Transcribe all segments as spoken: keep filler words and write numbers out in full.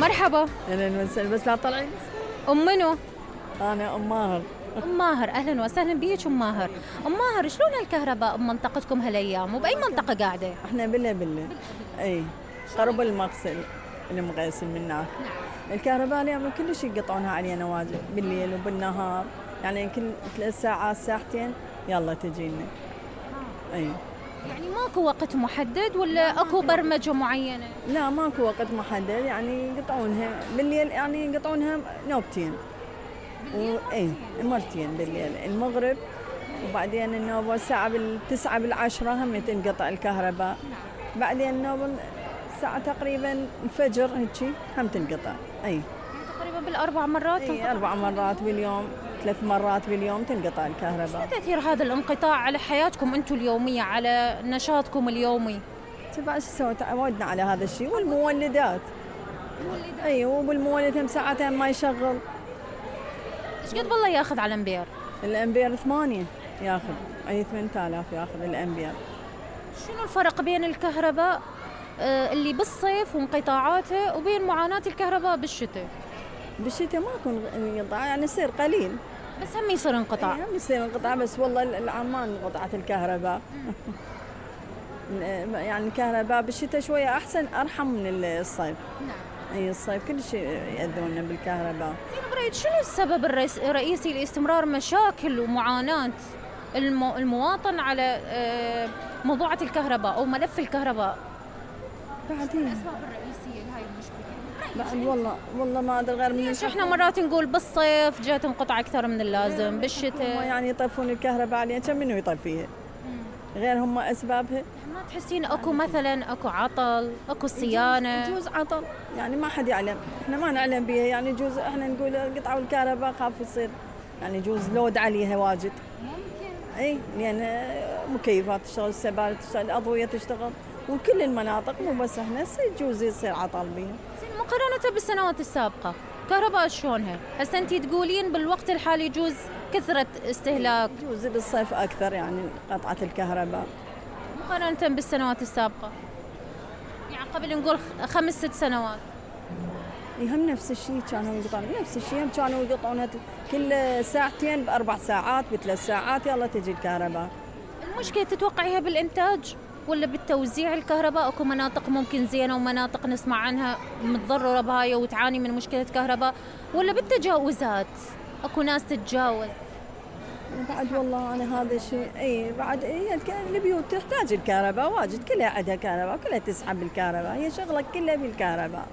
مرحبا. اهلا وسهلا. بس لا طلعي. ام منو؟ انا ام ماهر. ام ماهر، اهلا وسهلا بيك ام ماهر. ام ماهر، شلون الكهرباء بمنطقتكم هالايام وباي منطقه قاعده؟ احنا بلا بلا اي قرب المغسل المغسل من هناك. الكهرباء اليوم كلش يقطعونها علينا واجد بالليل وبالنهار، يعني كل ثلاث ساعات ساعتين يلا تجينا. اي يعني ماكو وقت محدد ولا اكو برمجه معينه؟ لا ماكو وقت محدد، يعني يقطعونها بالليل، يعني يقطعونها نوبتين. و... اي مرتين بالليل، المغرب وبعدين النوبة الساعة بالتسعة بالعشرة هم تنقطع الكهرباء. بعدين النوبة الساعة تقريبا الفجر هيك هم تنقطع. اي تقريبا بالاربع مرات. اي اربع مرات باليوم، ثلاث مرات باليوم تنقطع الكهرباء. شو تأثير هذا الانقطاع على حياتكم انتم اليومية، على نشاطكم اليومي؟ تبع شو نسوي، تعودنا على هذا الشيء. والمولدات اي وبالمولد هم ساعتين ما يشغل. ايش قد بالله ياخذ على الامبير؟ الامبير ثمانية ياخذ، اي ثمانية آلاف ياخذ الامبير. شنو الفرق بين الكهرباء آه اللي بالصيف وانقطاعاتها وبين معاناة الكهرباء بالشتاء؟ بالشتاء ما يكون انقطاع، يعني يصير قليل بس هم يصير انقطاع. هم يصير انقطاع، بس والله العمان انقطعت الكهرباء. يعني الكهرباء بالشتاء شوية أحسن، أرحم من الصيف. نعم. أي الصيف كل شيء يأذونا بالكهرباء. زين بريد، شنو السبب الرئيسي لاستمرار مشاكل ومعاناة المو... المواطن على موضوعة الكهرباء أو ملف الكهرباء؟ بعدين الأسباب الرئيسية لهاي المشكلة؟ بعد والله والله ما أدري غير من ليش إحنا مرات نقول بالصيف جات انقطع أكثر من اللازم، بالشتاء يعني يطفون الكهرباء عليها، كم منو يطفيها؟ غير هم أسبابها. ما تحسين اكو مثلا اكو عطل، اكو صيانه؟ يجوز عطل، يعني ما حد يعلم، احنا ما نعلم بها، يعني يجوز احنا نقول قطعوا الكهرباء خاف يصير يعني يجوز لود عليها واجد. ممكن. اي لان مكيفات تشتغل، السبائل تشتغل، الاضويه تشتغل، وكل المناطق مو بس احنا يجوز يصير عطل بها. زين مقارنه بالسنوات السابقه كهرباء شلونها؟ هسه انت تقولين بالوقت الحالي يجوز كثره استهلاك، يجوز بالصيف اكثر يعني قطعه الكهرباء مقارنة بالسنوات السابقة، يعني قبل نقول خمس ست سنوات. هم نفس الشيء كانوا يقطعون، نفس الشيء هم كانوا يقطعونها كل ساعتين بأربع ساعات بثلاث ساعات يلا تجي الكهرباء. المشكلة تتوقعيها بالإنتاج ولا بالتوزيع الكهرباء؟ أكو مناطق ممكن زينة ومناطق نسمع عنها متضررة بهاي وتعاني من مشكلة كهرباء، ولا بالتجاوزات أكو ناس تتجاوز؟ بعد والله أنا هذا الشيء أي بعد هي البيوت تحتاج الكهرباء واجد، كلها عندها كهرباء، كلها تسحب الكهرباء، هي شغلة كلها بالكهرباء.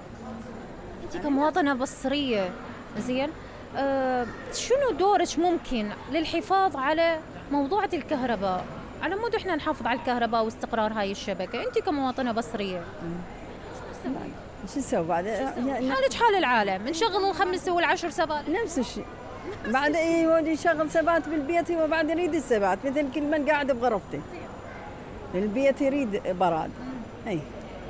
أنت كمواطنة بصرية زين أه شنو دورك ممكن للحفاظ على موضوعة الكهرباء، على مود إحنا نحافظ على الكهرباء واستقرار هاي الشبكة؟ أنت كمواطنة بصرية شو نسوي بعد؟ حالك حال العالم، نشغل الخمس والعشر سبات نفس الشيء. بعد ايه يشغل سبات بالبيت، هو بعد يريد السبات، مثل كل من قاعد بغرفته البيت يريد براد. اي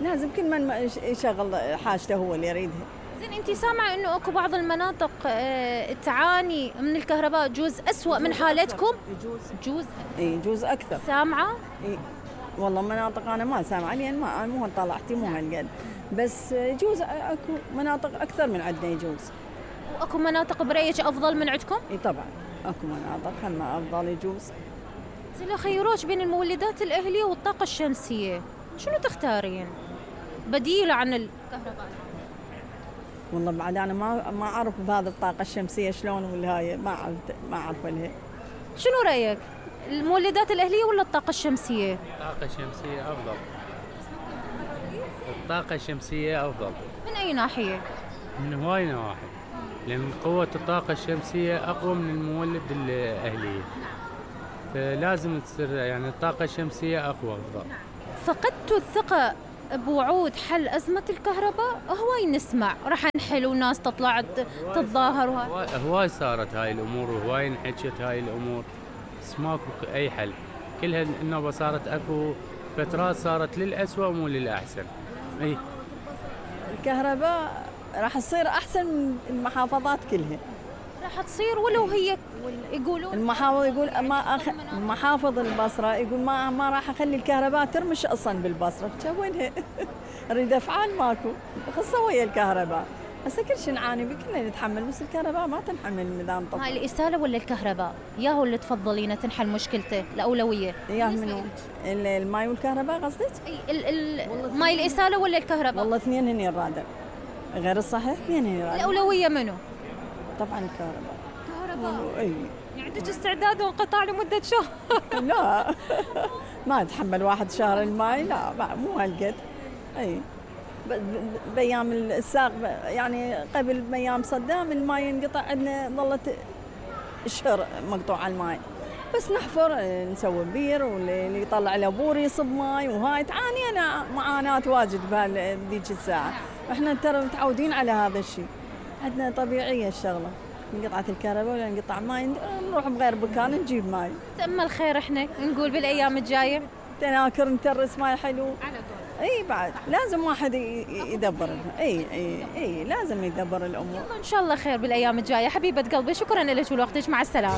لازم كل من يشغل حاجته هو اللي يريدها. زين انت سامعه انه اكو بعض المناطق اه تعاني من الكهرباء جوز أسوأ من حالتكم؟ يجوز جوز اي يجوز اكثر. سامعه؟ اي والله مناطق انا ما سامعه لان ما مو طلعتي مو هالقد، بس يجوز اكو مناطق اكثر من عندنا يجوز. واكو مناطق بريج افضل من عندكم؟ اي طبعا اكو مناطق هم افضل يجوز. زين لو خيروش بين المولدات الاهليه والطاقه الشمسيه شنو تختارين بديله عن الكهرباء؟ والله بعد انا ما ما اعرف بهذا الطاقه الشمسيه شلون ولا هاي ما اعرف ما اعرف لها. شنو رايك المولدات الاهليه ولا الطاقه الشمسيه؟ الطاقه الشمسيه افضل. الطاقه الشمسيه افضل من اي ناحيه؟ من هواي نواحي، لأن قوة الطاقة الشمسية أقوى من المولد الأهلية، فلازم تصير يعني الطاقة الشمسية أقوى أفضل. فقدتوا الثقة بوعود حل أزمة الكهرباء؟ هواي نسمع راح نحل وناس تطلع تتظاهر وهاي هواي صارت هاي الأمور وهواي انحكت هاي الأمور، بس ماكو أي حل. كلها النوبة صارت أكو فترات صارت للأسوأ مو للأحسن. أي الكهرباء راح تصير أحسن من المحافظات كلها، راح تصير ولو هي يقولون المحافظ يقول ما أخ... محافظ البصرة يقول ما ما راح أخلي الكهرباء ترمش أصلا بالبصرة، وينها؟ نريد أفعال ماكو، خصها ويا الكهرباء. هسه كل شيء نعاني به كلنا نتحمل، بس الكهرباء ما تنحمل مدام هاي طفى. الإسالة ولا الكهرباء؟ ياهو اللي تفضلينه تنحل مشكلته الأولوية؟ اياه منو؟ ال- الماي والكهرباء قصدك؟ اي ال ال ماي الإسالة ولا الكهرباء؟ والله اثنين هني الرادع، غير الصحيح اثنين هني الرادع. الأولوية منو؟ طبعا الكهرباء. كهرباء. اي يعني عندك استعداد وانقطاع لمدة شهر؟ لا ما يتحمل واحد شهر الماي، لا ما- مو هالقد. اي ب- ب- بايام الساق ب- يعني قبل بايام صدام الماي ينقطع عندنا، ظلت شهر مقطوع الماي، بس نحفر نسوي بير، واللي يطلع له بور يصب ماي، وهاي تعانينا معاناة واجد بهذيك الساعة. احنا ترى متعودين على هذا الشيء، عندنا طبيعية الشغلة، انقطعت الكهرباء ولا انقطع ماي نروح بغير مكان نجيب ماي. تأمل خير احنا نقول بالأيام الجاية. تناكر نترس ماي حلو. على طول. اي بعد لازم واحد ي- يدبر. اي اي اي لازم يدبر الامور. إن شاء الله خير بالأيام الجاية. حبيبة قلبي شكرا لك ولوقتك، مع السلامة.